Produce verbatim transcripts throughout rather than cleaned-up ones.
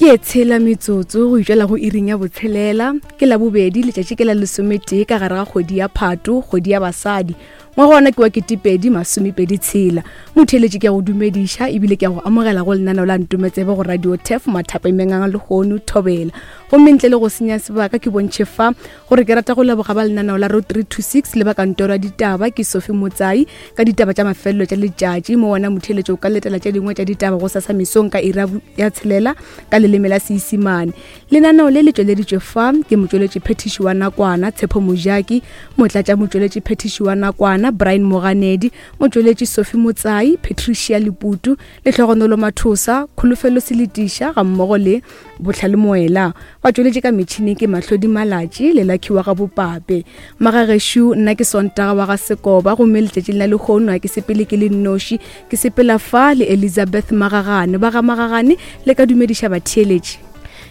Ke e tshela metsotso go itšwela go iring ya botshelela ke la bobedi letšatši ke la lesometee ka gare ga kgwedi ya Phato, kgwedi ya basadi. Ngwaga ona ke wa ketepedi masomepedi tshela. Motheeletši ke a go dumediša ebile ke a go amogela go lenaneo la Ntometsebe go Radio Tef mathapemeng a lehono Thobela. Gomme ntle le go senya sebaka ke bontšhe fa gore ke rata go leboga ba lenaneo la Road three two six le ba kantoro ya ditaba ke Sophie Motsai ka ditaba tša mafelelo tša letšatši. Mo wona motheeletši o ka letela tše dingwe tša ditaba go sasa mesong ka iri ya tshelela ka leleme la Seisimane. Lenaneo le le tšweleditšwe fa ke motšweletši phethiši wa nakwana Tshepo Mojaki, motlatša motšweletši phethiši wa nakwana Brian Moganedi, motšweletši Sophie Motsai, Patricia Leputu, Lehlogonolo Mathosa, Kholofelo Seletiša ga mmogo le Bohlale Moela. Batšweletši ka metšhineng ke Mahlodi Malatši le Lucky wa ga Bopape. Magagešo, nna ke Sontaga wa ga Sekoba, gomme letšatšing la lehono ga ke sepele ke le nnoši, ke sepela fa le Elizabeth Magagane. Ba ga Magagane le ka dumediša batheeletši.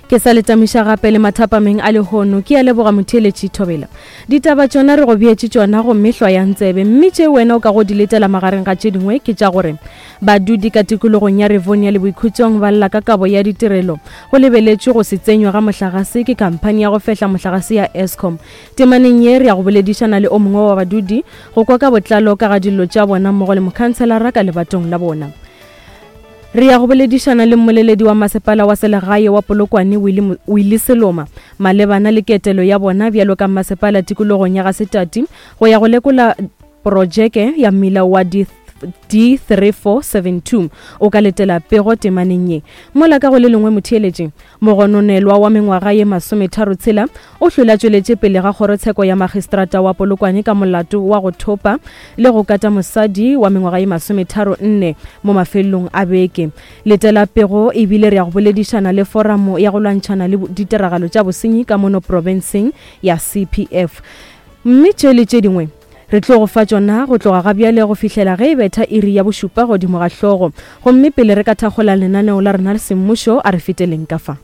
Ke sa le tamiša gape le mathapameng a lehono. Ke a leboga motheeletši Thobela. Ditaba tšona re go beetše tšona gomme hlwayang tsebe, mme tše wena o ka go di letela magareng ga tše dingwe ke tša gore badudi ka tikologong ya Rivonia le Boikhutšong ba lla ka kabo ya ditirelo go lebeletšwe go se tsenywa ga mohlagase ke khamphani ya go fehla mohlagase ya Eskom. Temaneng ye re ya go boledišana le o mongwe wa badudi go kwa ka botlalo ka ga dillo tša bona mmogo le mokhanselara ka lebatong la bona. Re ya go boledišana le mmoleledi wa masepala wa selegae wa Polokwane Willie Seloma malebana le ketelo ya bona bjalo ka masepala tikologong ya Gasetati go ya go lekola projeke ya mmila wa D three four seven two. O ka letela pego temaneng ye. Mola ka go le lengwe motheeletši, mogononelwa wa mengwaga ye masometharo tshela o hlola tšweletše pele ga kgorotsheko ya magistrata wa Polokwane ka molato wa go thopa le go kata mosadi wa mengwaga ye masometharo nne mo mafelelong a beke. Letela pego ebile re ya go boledišana le foramo ya go lwantšhana le ditiragalo tša bosenyi ka mono profenseng ya C P F. Mme tše le tše dingwe re tlo go fa tšona go tloga ga bjale go fihlela ge e betha iri ya bošupa godimo ga hlogo. Gomme pele re ka thakgola lenaneo la rena le semmušo, a re feteleng ka fa.